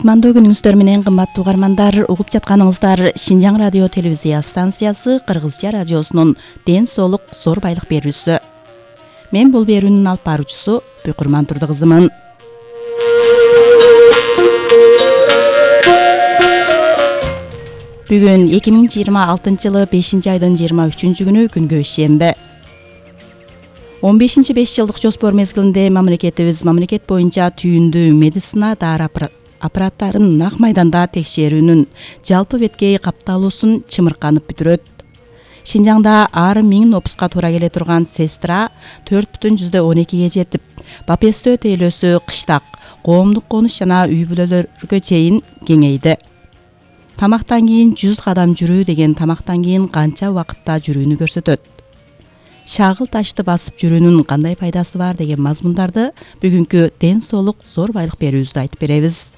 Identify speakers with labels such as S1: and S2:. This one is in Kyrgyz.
S1: Кутмандуу күнүңүздөр менен кымбаттуу угармандар, угуп жатканыңыздар Шинжаң радио телевизия станциясы Кыргызча радиосунун Ден соолук зор байлык берүүсү. Мен бул берүүнүн алып баруучусу Бөкүрман Турду кызымын. Бүгүн 2026 жылы 5-айдын 23-күнү күнгө шембе. 15-5 жылдык жоспор мезгилинде мамлекет боюнча түйүндүү медицина дары аппараттарын нак майданда текшерүүнүн жалпы беткей капталуусун чымырканып бүтүрөт. Шинжаңда ар 1000 опуска туура келе турган сестра 4,12ге жетип, Бапестөө тейлөөсү кыштак, коомдук конуш жана үй бүлөлөргө чейин кеңейди. Тамактан кийин 100 кадам жүрүү деген тамактан кийин канча убакытта жүрүүнү көрсөтөт. Шагыл ташты басып жүрүүнүн кандай пайдасы бар деген мазмундарды бүгүнкү Ден соолук зор байлык берүүбүздө айтып беребиз.